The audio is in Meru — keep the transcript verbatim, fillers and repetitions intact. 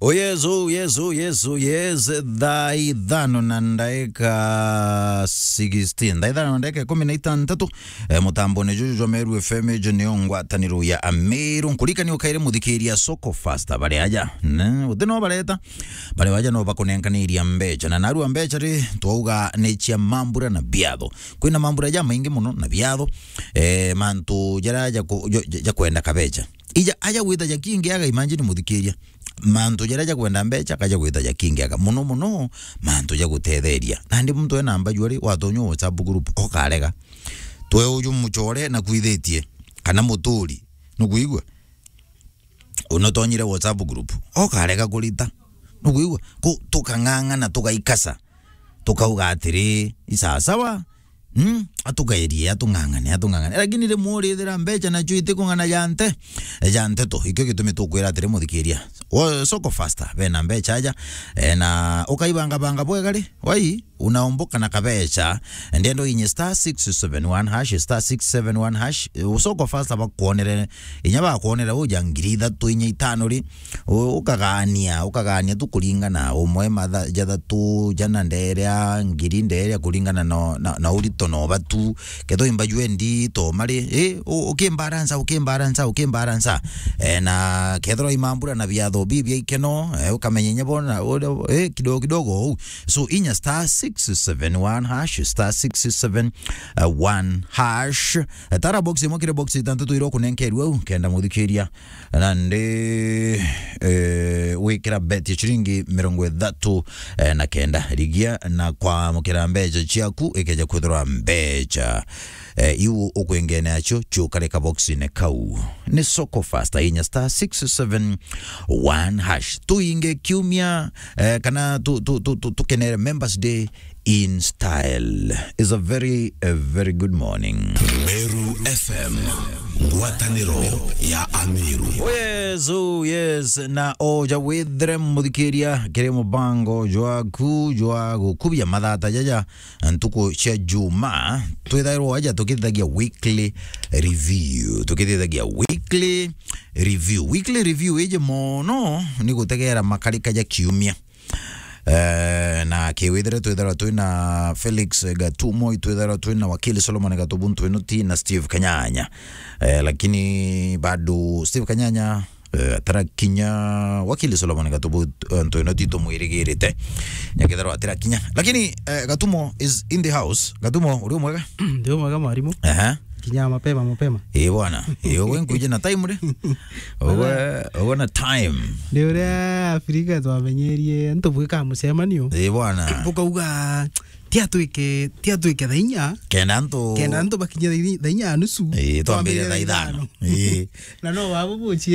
Oh yes, oh yes, oh yes, oh yes. Thaa ithano na ndaika sixteen. Thaa ithano na ndaika ikumi na itantatu. Eh, mutambone juju jwa Meru F M, ejo nio ngwataniro ya Ameru. Nkurikania ukaire muthikiria Soko Fasta bari aja. Ne, uti no bareta. Bari aja no bakunenkaniria mbecha. Na narua mbecha ri, twauga ni cia mambura na biatho. Kwina mambura ja maingi muno na biatho. Eh, mantu jara ja ku-, jo-, ja, ja kwenda kabecha. Ija aja gwita ja kingiaga, imagine muthikiria. Mantu jaria ja kwenda mbecha, kaja gwita ja kingiaga. Muno muno, mantu ja gutetheria. Nandi muntu ena mbaju ari, watonya WhatsApp group, okarega. Twe uju muchore na kwithitie, kana muturi. Nukwigua? Unotonyire WhatsApp group, okarega kurita. Nukwigua? Ku-, tukang'ang'ana, tugaikasa. Tukauga atiri, "Isasawa, mm, atugairie, atung'ang'ane, atung'ang'ane." Lakini rimwe urithira mbecha nacio itikung'ana ja nte-, ja nteto. Ikio gitumi tukwira atiri, muthikiria. Wo-, Soko Fasta, bena mbecha aja, eh, na ukaibangabanga bwega ri, wai, unaomboka na kabecha, ndienda uinye star six seven one hash, star six seven one hash, eh, Soko Fasta bakwonere, inya bakwonere uja ngiri ithatu, inya itano ri, U-, ukagania, ukagania tu kuringana, umwe matha-, jathatu, jana nderia, ngiri nderia kuringana na, na, na urito na ubatu. Kethirwa imba jwendi to mari, eh, u-, ukimbaransa, ukimbaransa, ukimbaransa. Eh, na kethirwa imambura na biatho bibia ikeno, eh, ukamenya inya bona, ule, eh, kidogo kidogo ou. So, inya star six seven one hash, star six seven one hash. Eh, tara box imwe kiri box itantatu iria ukunenkerua u, kenda muthikiria. Nandi, eh, wikira bet ya ciringi mirongo ithatu, eh, na kenda. Rigia na kwamukira mbecha ciaku, ikeja kwithirwa mbecha, eh, iu ukwingene acio, ciukare kaboxine kau. Ni Soko Fasta, inya star six seven one hash. Tuinge kiumia, eh, kana tu-, tu-, tu-, tu-, tukenere Members Day in style. Is a very, a very good morning. Meru F M, ngwataniro ya Ameru. Oh yes, oh yes, na oja withire muthikiria kiri mubango jwaku jwa gukubia mathata jaja ntuku cia Juma. Twithairwo aja tukithagia weekly review, tukithagia weekly review. Weekly review iji mono ni gutegera makarika ja kiumia. Eh, na kiwithire twithairwa twina Felix Gatumo, itwithairwa twina wakili Solomon Gatubu Ntwinuti na Steve Kanyanya. Eh, lakini bado Steve Kanyanya, eh, atarakinya, wakili Solomon Gatubu, eh, Ntwinuti tumwirigirite. Nyakithairwa atirakinya. Lakini, eh, Gatumo is in the house. Gatumo, uri mwega? Ndi mwega, mwarimu. Aha. Kinya mapema, mapema. Ii bwana. Ii, ugwe nkuije na time ri? Ugwe, ugwe na time. Ni uria Afrika twamenyerie, antu bwika mucemanio. Ii bwana. Bukauga, "Tia twike, tia twike thaa inya." Kenda antu, kenda antu bakinye thaa inya, thaa inya na nusu. Ii, twambire thaa ithano. Ii. Na no babu buchi